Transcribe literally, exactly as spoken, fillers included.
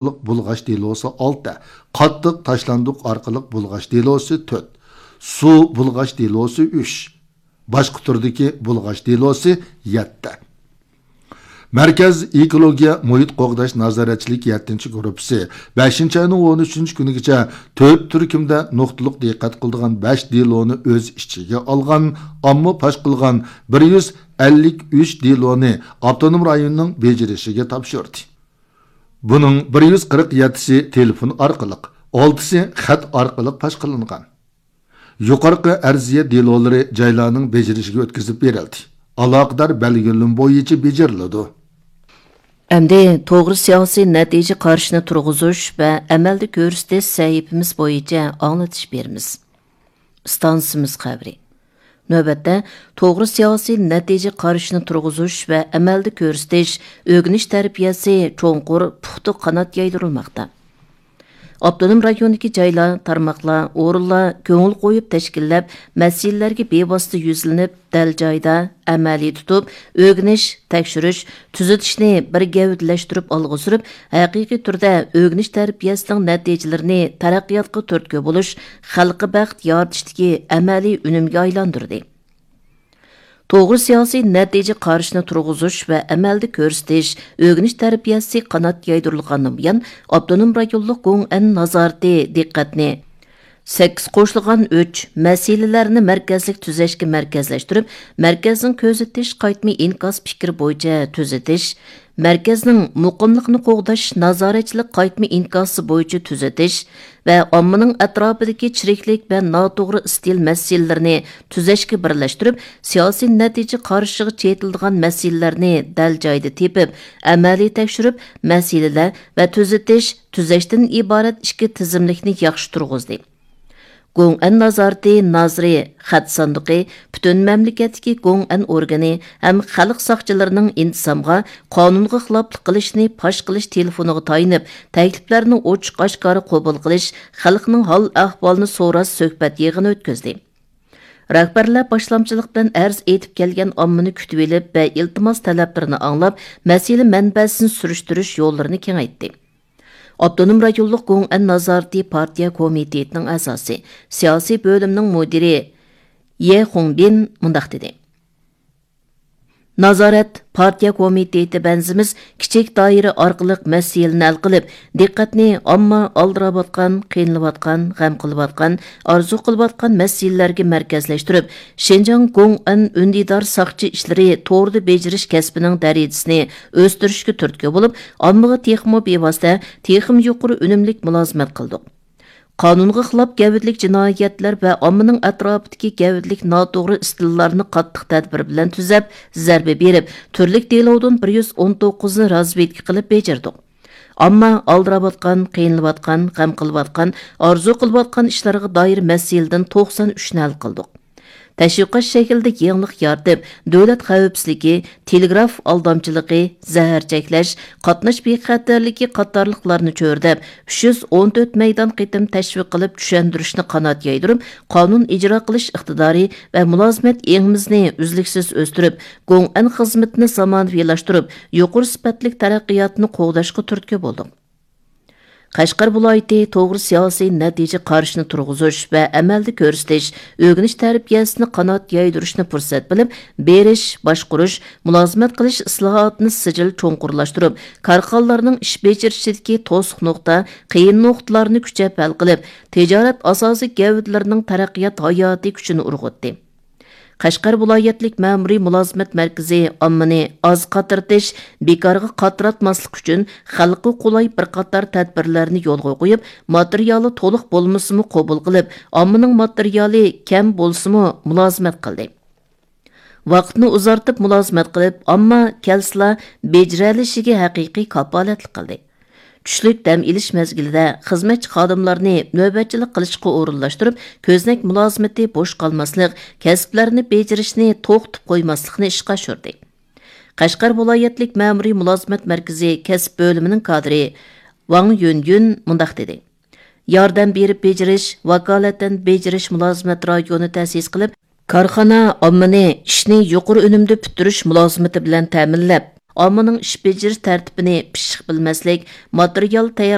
بۇلغاش دېلوسى ئالتە، قاتتىق تاشلاندۇق ئارقىلىق بۇلغاش دېلوسى تۆت، سۇ بۇلغاش دېلوسى ئۈچ، باشقا تۈردىكى بۇلغاش دېلوسى يەتتە. مەركەز ئېكولوگىيە مۇھىت قوغداش نازارەتچىلىك يەتتىنچى گۇرۇپپىسى بەشىنچى ئاينىڭ ئون ئۈچىنچى كۈنىگىچە تۆت تۈركۈمدە نۇقتىلىق دىققەت قىلىدىغان بەش دېلونى ئۆز ئىچىگە ئالغان، ئامما پاش قىلغان بىر يۈز ئەللىك ئۈچ دېلونى ئاپتونوم رايوننىڭ بېجىرىشىگە تاپشۇردى. بۇنىڭ بىر يۈز قىرىق يەتتىسى تېلېفون ئارقىلىق، ئالتىسى خەت ئارقىلىق پاش قىلىنغان. يۇقىرىقى ئەرزىيە دېلولىرى جايلارنىڭ بېجىرىشىگە ئۆتكۈزۈپ بېرىلدى. ئالاقىدار بەلگىلىمە بويىچە بېجىرىلىدۇ. ئەمدى توغرا سىياسىي نەتىجە قارىشىنى تۇرغۇزۇش ۋە ئەمەلدە كۆرسىتىش سەھىپىمىز بويىچە ئاڭلىتىش بېرىمىز. ئىستانسىمىز خەۋىرى. نۆۋەتتە، توغرا سىياسىي نەتىجە قارىشىنى تۇرغۇزۇش ۋە ئەمەلدە كۆرسىتىش، ئۆگىنىش تەربىيەسى چوڭقۇر، پۇختا قانات يايدۇرۇلماقتا. ئاپتونوم رايوندىكى جايلار، تارماقلار، ئورۇنلار كۆڭۈل قويۇپ تەشكىللەپ، مەسىلىلەرگە بىۋاسىتە يۈزلىنىپ، دەل جايىدا، ئەمەلىي تۇتۇپ، ئۆگىنىش، تەكشۈرۈش، تۈزىتىشنى بىر گەۋدىلەشتۈرۈپ ئالغا سۈرۈپ، ھەقىقىي تۈردە ئۆگىنىش تەربىيەسىنىڭ نەتىجىلىرىنى تەرەققىياتقا تۈرتكە بولۇش، خەلققە بەخت يارىتىشتىكى ئەمەلىي ئۈنۈمگە ئايلاندۇردى. توغرا سىياسىي نەتىجە قارىشىنى تۇرغۇزۇش ۋە ئەمەلدە كۆرسىتىش، ئۆگىنىش تەربىيەسى قانات يايدۇرۇلغاندىن بۇيان، ئاپتونوم رايونلۇق گوڭئەن نازارىتى دىققەتنى سەككىز قوشۇلغان ئۈچ مەسىلىلەرنى مەركەزلىك تۈزەشكە مەركەزلەشتۈرۈپ، مەركەزنىڭ كۆزىتىش قايتما ئىنكاس پىكرى بويىچە تۈزىتىش، مەركەزنىڭ مۇقىملىقنى قوغداش نازارەتچىلىك قايتما ئىنكاسى بويىچە تۈزىتىش ۋە ئاممىنىڭ ئەتراپىدىكى چىرىكلىك ۋە ناتوغرا ئىستىل مەسىلىلىرىنى تۈزەشكە بىرلەشتۈرۈپ، سىياسىي نەتىجە قارىشىغا چېتىلىدىغان مەسىلىلەرنى دەل جايىدا تېپىپ، ئەمەلىي تەكشۈرۈپ، مەسىلىلەر ۋە تۈزىتىش، تۈزەشتىن ئىبارەت ئىككى تىزىملىكنى ياخشى تۇرغۇزدى. گوڭئەن نازارىتى نازىرى خەت ساندۇقى، پۈتۈن مەملىكەتتىكى گوڭئەن ئورگىنى ھەم خەلق ساقچىلىرىنىڭ ئىنتىزامغا قانۇنغا خىلاپلىق قىلىشنى پاش قىلىش تېلېفونىغا تايىنىپ، تەكلىپلەرنى ئوچۇق ئاشكارا قوبۇل قىلىش، خەلقنىڭ ھال ئەھۋالىنى سوراش سۆھبەت يىغىنى ئۆتكۈزدى. رەھبەرلەر باشلامچىلىق بىلەن ئەرز ئېيتىپ كەلگەن ئاممىنى كۈتۈۋېلىپ ۋە ئىلتىماس تەلەپلىرىنى ئاڭلاپ، مەسىلە مەنبەسىنى سۈرۈشتۈرۈش يوللىرىنى كېڭەيتتى. ئاپتونوم رايونلۇق گوڭئەن نازارىتى پارتىيە كومىتېتىنىڭ ئەزاسى، سىياسىي بۆلۈمنىڭ مۇدىرى يې خۇڭبىن مۇنداق دېدى: نازارەت پارتىيە كومىتېتى بەنزىمىز كىچىك دائىرە ئارقىلىق مەسىلىنى ھەل قىلىپ، دىققەتنى ئامما ئالدىراۋاتقان، قىينىلىۋاتقان، غەم قىلىۋاتقان، ئارزۇ قىلىۋاتقان مەسىلىلەرگە مەركەزلەشتۈرۈپ، شىنجاڭ گوڭئەن ئۈندىدار ساقچى ئىشلىرى توردا بېجىرىش كەسپىنىڭ دەرىجىسىنى ئۆستۈرۈشكە تۈرتكە بولۇپ، ئاممىغا تېخىمۇ بىۋاسىتە، تېخىمۇ يۇقىرى ئۈنۈملۈك مۇلازىمەت قىلدۇق. قانۇنغا خىلاپ گەۋدىلىك جىنايەتلەر ۋە ئاممىنىڭ ئەتراپىدىكى گەۋدىلىك ناتوغرا ئىستىللارنى قاتتىق تەدبىر بىلەن تۈزەپ، زەربە بېرىپ، تۈرلۈك دېلودىن بىر يۈز ئون توققۇزنى رازۋېدكا قىلىپ بېجىردۇق. ئامما ئالدىراۋاتقان، قىينىلىۋاتقان، غەم قىلىۋاتقان، ئارزۇ قىلىۋاتقان ئىشلارغا دائىر مەسىلىدىن توقسان ئۈچنى ھەل قىلدۇق. تەشۋىقات شەكلىدە يېڭىلىق يارىتىپ، دۆلەت خەۋپسىزلىكى، تېلېگراف ئالدامچىلىقى، زەھەر چەكلەش، قاتناش بىخەتەرلىكى قاتارلىقلارنى چۆرىدەپ، ئۈچ يۈز ئون تۆت مەيدان قېتىم تەشۋىق قىلىپ، چۈشەندۈرۈشنى قانات يايدۇرۇپ، قانۇن ئىجرا قىلىش ئىقتىدارى ۋە مۇلازىمەت ئېڭىمىزنى ئۈزلۈكسىز ئۆستۈرۈپ، گوڭئەن خىزمىتىنى زامانىۋىلاشتۇرۇپ، يۇقىرى سۈپەتلىك تەرەققىياتنى قوغداشقا تۈرتكە بولدۇق. قەشقەر ۋىلايىتى توغرا سىياسىي نەتىجە قارىشىنى تۇرغۇزۇش ۋە ئەمەلدە كۆرسىتىش، ئۆگىنىش تەربىيەسىنى قانات يايدۇرۇشنى پۇرسەت بىلىپ، بېرىش، باشقۇرۇش، مۇلازىمەت قىلىش ئىسلاھاتىنى سىجىل چوڭقۇرلاشتۇرۇپ، كارخانىلارنىڭ ئىش بېجىرىشىدىكى توسۇق نۇقتا، قىيىن نۇقتىلارنى كۈچەپ ھەل قىلىپ، تىجارەت ئاساسىي گەۋدىلىرىنىڭ تەرەققىيات ھاياتىي كۈچىنى ئۇرغۇتتى. قەشقەر ۋىلايەتلىك مەمۇرىي مۇلازىمەت مەركىزى ئاممىنى ئاز قاترىتىش، بىكارغا قاتراتماسلىق ئۈچۈن خەلققە قولاي بىر قاتار تەدبىرلەرنى يولغا قويۇپ، ماتېرىيالى تولۇق بولمىسىمۇ قوبۇل قىلىپ، ئاممىنىڭ ماتېرىيالى كەم بولسىمۇ مۇلازىمەت قىلدى. ۋاقىتنى ئۇزارتىپ مۇلازىمەت قىلىپ، ئامما كەلسىلا بېجىرەلىشىگە ھەقىقىي كاپالەتلىك قىلدى. چۈشلۈك دەم ئېلىش مەزگىلىدە خىزمەتچى خادىملارنى نۆۋەتچىلىك قىلىشقا ئورۇنلاشتۇرۇپ، كۆزنەك مۇلازىمىتى بوش قالماسلىق، كەسىپلەرنى بېجىرىشنى توختىتىپ قويماسلىقنى ئىشقا ئاشۇردى. قەشقەر ۋىلايەتلىك مەمۇرىي مۇلازىمەت مەركىزى كەسىپ بۆلۈمىنىڭ كادىرى ۋاڭ يۈنيۈن مۇنداق دېدى: ياردەم بېرىپ بېجىرىش، ۋاكالەتەن بېجىرىش مۇلازىمەت رايونى تەسىس قىلىپ، كارخانا ئاممىنى ئىشنى يۇقىرى ئۈنۈمدە پۈتتۈرۈش مۇلازىمىتى بىلەن تەمىنلەپ، ئاممىنىڭ ئىش بېجىرىش تەرتىپىنى پىششىق بىلمەسلىك، ماتېرىيال تەييار